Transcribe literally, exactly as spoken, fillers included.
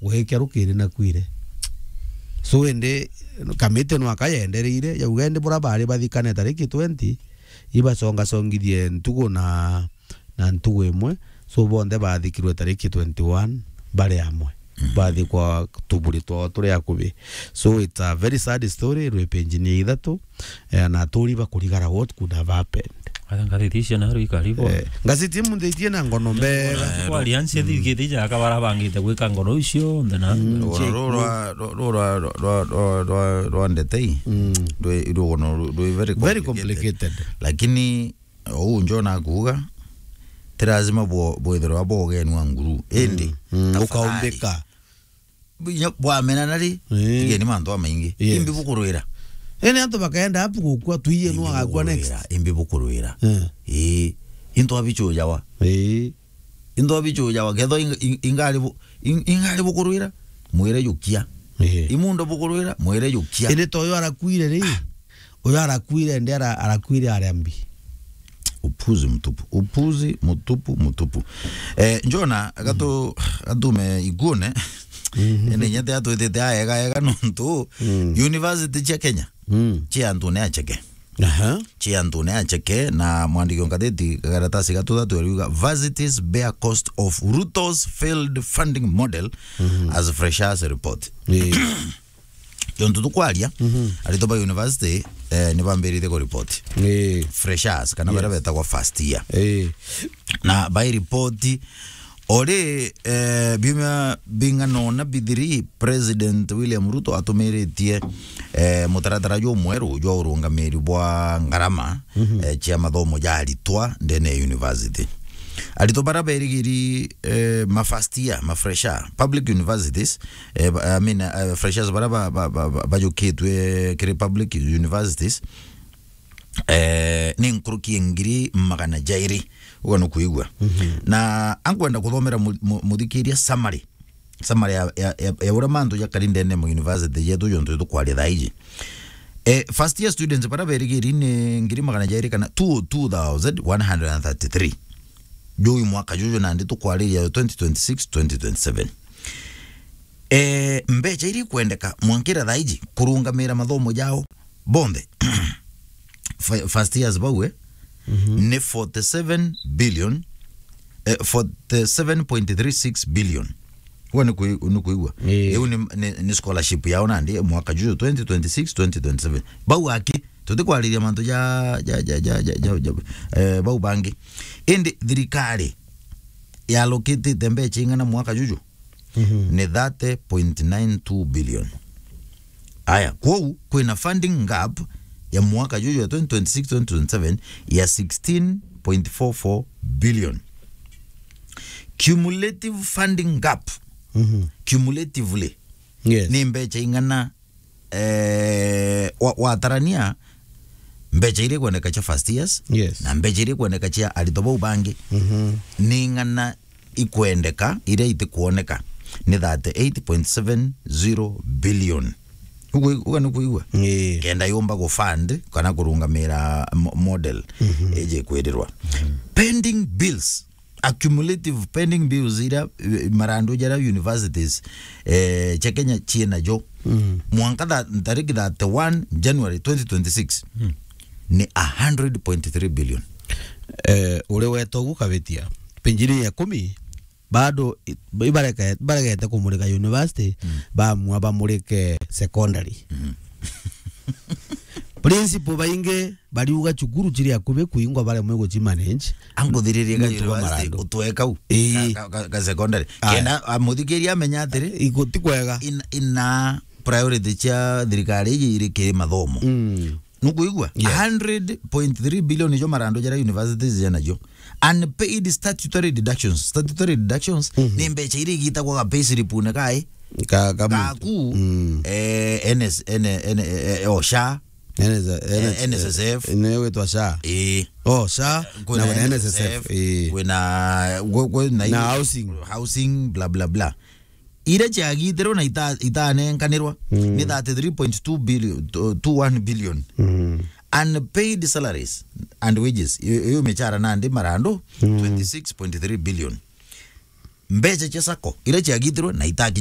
Gwikia rukiri nakuire. So indi kamiti nwaka yendereire, yauga indi bura bari bathikane tariki twenty, ibacongacongithie ntugu na, na ntugu imwe. So bonthe bathikirwe tariki twenty-one bari amwe. Bathikwa tuburi twao turi akubi. So it's a very sad story, rwi page ni ya ithatu. Eh, na aturi bakurigara what could have happened. Ata ngathiti icio na rui karibu. Eh, ngaziti munthithie na ngono mbega. Kwa aliansi thigiti ja kabara bangite gwika ngono icio nthe na. Rugano rwa, rwa, rwa ndetei. Mm. Rwi, rugano rwi very Very complicated. Complicated. Lakini uu njo nakuuga, ti lazima bwo-, bwithirwa bwogenwa nguru. Indi, mm, mm, tafadhali. Ukaumbika. Bwamena nari, eh, tigeni mantu amaingi. Yes. Imbi bukurwira. Ene antu bakaenda apu gukua, tuiye nu agakua next. Imbi bukurwira. Eh. Ii. Into abichujawa. Ii. Into abichujawa. Ketho ing-, ing-, ingari bu-, ing-, ingari bukurwira. Mwire jukia. Eh. Imundo bukurwira, mwire jukia. Ene toyo arakuire ri. Uyu arakuire, ndi ara-, arakuire aria mbi. Upuzi mtupu. Upuzi mtupu, mtupu. Eh, Njona, gatu-, gatume iguone. Mhm. Ene nyete atwitite aega, ega nontu. Mm. University cia Kenya. Mm. Cia antu ne acheke. Aha. Cia antu ne acheke, na mwandiki wa ngatheti karatasi gatu thatu ariuga, "Varsities bear cost of Ruto's failed funding model as freshers report." Eh. Jontu tukwaria, mhm, aritwa ba university, eh, ni bambiritie ku report. Eh. Freshers, kana baria betagwa first year. Eh. Na bai report, ori, eh, biumia bing'ana ona bithiri, President William Ruto atumiritie, eh, mutaratara jumweru jwa urungamiri bwa ngarama, mhm, eh, cia mathomo ja aritwa ndene ya university. Aritwa baria berigiri, eh, ma first year, ma fresher, public universities, eh, ba-, I mean, eh, freshers baria ba-, ba-, ba-, ba-, bajukitwe kiri public universities, eh, ni nkuruki ya ngiri magana jairi. Uga nukwigua. Mhm. Na ankwenda kuthomera mu-, mu-, muthikiria summary. Summary ya, ya, ya, ya uria mantu jakari ndene mu university jetu jontu tukwaria thaa iji. Eh, first year students baria berigiri ni ngiri magana jairi kana two oh two thousand one hundred and thirty-three. Juu mwaka juju nandi tukwariria twenty twenty-six, twenty twenty-seven. Eh, mbecha iria ikwendeka mwankira thaa iji kurungamira mathomo jao bonthe. Fi-, first years bau, eh, mhm, ni forty-seven billion, eh, forty-seven point three six billion. Uga ni kui-, ni kuigua? Ii. Iu ni, ni, ni scholarship yao nandi mwaka juju twenty twenty-six, twenty twenty-seven. Bau aki, tutikwariria mantu ja, ja, ja, eh, bau bangi. Indi thirikari yalokitite mbecha ing'ana mwaka juju? Mhm. Ni thirty point nine two billion. Aya, kwou kwina funding gap ya mwaka juju ya twenty twenty-six, twenty twenty-seven ya sixteen point four four billion. Cumulative funding gap. Mhm. Cumulatively. Yes. Ni mbecha ing'ana, eh, wa-, watarania mbecha iria ikwendeka cia first years, yes, na mbecha iria ikwendeka cia aritwa bau bangi, mhm, ni ing'ana ikwendeka, iria itikwoneka ni thirty-eight point seven zero billion. Ugu-, uga ni kuigua? Ii. Kenda yumba ku fund kana kurungamira mo-, model, mhm, iji kwirirwa. Mhm. Pending bills, accumulative pending bills iria, eh, marandu jaria universities, eh, cia Kenya ciina jo. Mm. Mwanka tha-, tariki thirty-one January twenty twenty-six, mm, ni a hundred point three billion. Eh, uri weta ugu kabitia. Page ni ya ikumi, bado i-, ibareke-, ibaregete kumurika university, mm, bamua bamurike secondary. Mm. Principal baingi bariuga cukuru ciri akubi kuingwa baremwe gucimanage. Anguthiririe ga nontu bwa university, marandu, utwe kau. Ii. Ka, ka, ka, ka secondary. Aya. Kenda, a, muthikiria amenya atiri, igo ti kwega. In-, ina priority cia thirikari iji iri kiri mathomo. Mm. Nukuigua? Yes. A hundred point three billion ijo marandu jaria universities jena jo. Unpaid statutory deductions. Statutory deductions, mhm, ni mbecha iria igitagwa ga payslip-une kae. Ka, ka gaku, mm, eh, N S, N-, N-, eh, eh, o SHA. N S, eh, N S, N S S F. Ni witwa SHA. Ii. Oh, SHA, kwina na kuna N S S F, N S S F, ii, kwina, kwi-, kwina na housing. Housing, bla, bla, bla. Iria ciagitirwe na ita-, itanenkanirwa, mm, ni thirty-three point two billion, to-, two one billion. Mm. Unpaid salaries and wages. Iyo, iyo michara nandi marandu, mm, twenty-six point three billion. Mbecha cia sacco, iria ciagitirwe na itakinya